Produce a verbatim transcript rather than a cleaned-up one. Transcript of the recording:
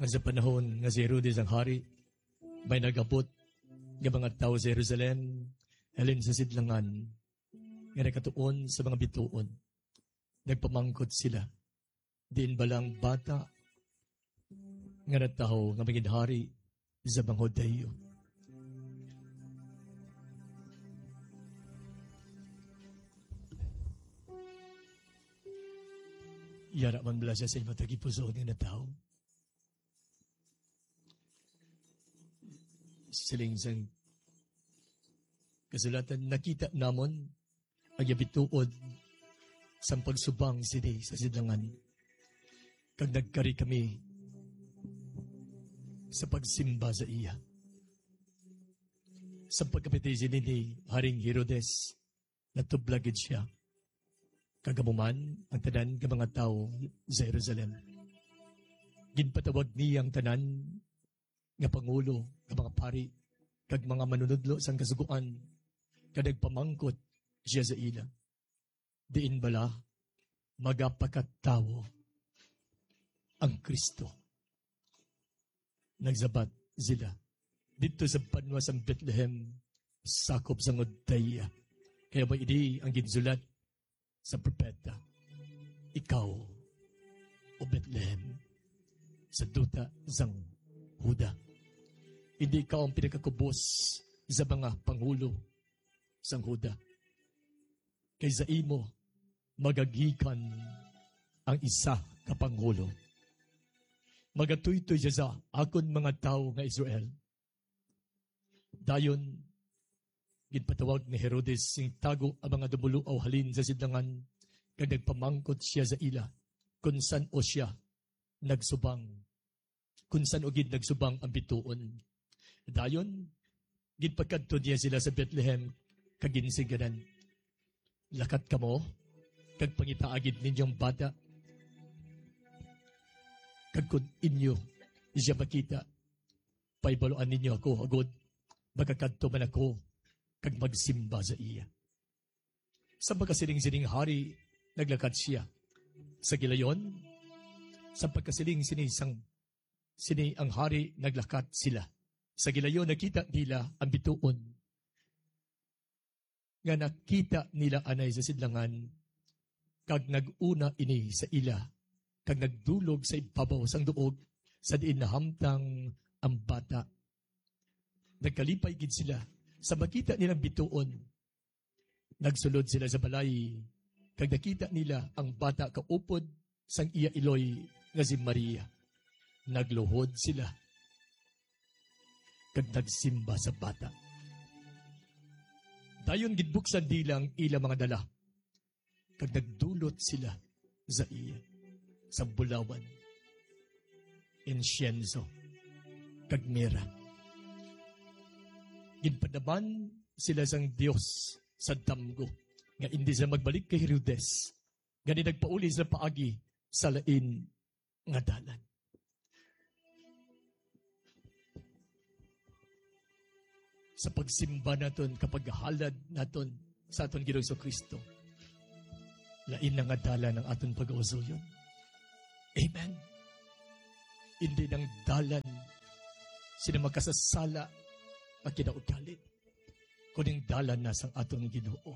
Nga sa panahon nga si Herodes ang hari, may nagabot nga mga tawo sa Jerusalem halin sa sidlangan nga nakatuon sa mga bituon. Nagpamangkot sila, "Diin bala ang bata nga natawo nga magin hari sa mga Judio?" Yara man bala siya sa imo tagipusoon nga natawo? Siling sang kasulatan, nakita namon ang iya bituon sang pagsubang sini sa sidlangan, kag nagkari kami sa pagsimba sa iya. Sa pagkapati sini ni Haring Herodes, natublag gid sia, kag amo man ang tanan nga mga tawo sa Jerusalem. Ginpatawag niya ang tanan nga pangulo nga mga pari kag mga manunodlo sang Kasugoan, kag nagpamangkot sia sa ila, "Diin bala magapakatawo ang Cristo?" Nagsabat sila, "Didto sa banwa sang Bethlehem, sakop sang Judea, kay amo ini ang ginsulat sa propeta, 'Ikaw, O Bethlehem, sa duta sang Juda, indi ikaw ang pinakakubos sa mga pangulo sang Juda. Kay sa imo magagikan ang isa ka pangulo. Magatuytoy sia sa akon mga tawo nga Israel.'" Dayon, ginpatawag ni Herodes sing tago ang mga dumuluaw halin sa sidlangan, kag nagpamangkot sia sa ila kon san-o sia nagsubang, kon san-o gid nagsubang ang bituon. Dayon, ginpakadto niya sila sa Bethlehem, kag ginsingganan, "Lakat kamo, kag pangitaa gid ninyo ang bata. Kag kon inyo sia makita, pahibaluan ninyo ako, agod makakadto man ako kag magsimba sa iya." Sa pagkasiling sining hari, naglakat sia. Sa gilayon, sa pagkasiling sini sang, sini ang hari, naglakat sila. Sa gilayon, nakita nila ang bituon nga nakita nila anay sa sidlangan, kag nag-una ini sa ila, kag nagdulog sa ibabaw sang duog sa diin nahamtang ang bata. Nagkalipay gid sila sa makita nilang bituon. Nagsulod sila sa balay, kag nakita nila ang bata kaupod sang iya iloy nga si Maria. Nagluhod sila kag nagsimba sa bata. Dayon ginbuksan nila ang ila mga dala, kag nagdulot sila sa iya sang bulawan, insyenso, kag mira. Ginpadaman sila sang Dios sa damgo, nga indi sila magbalik kay Herodes, gani nagpauli sila paagi sa lain nga dalan. Sa pagsimba naton, kapaghalad naton sa aton Ginoong Jesu-Cristo, lain na nga dalan ang aton pagausoyon. Amen. Indi nang dalan sina makasasala nga kinaugali, kuning dalan na sang aton Ginoo.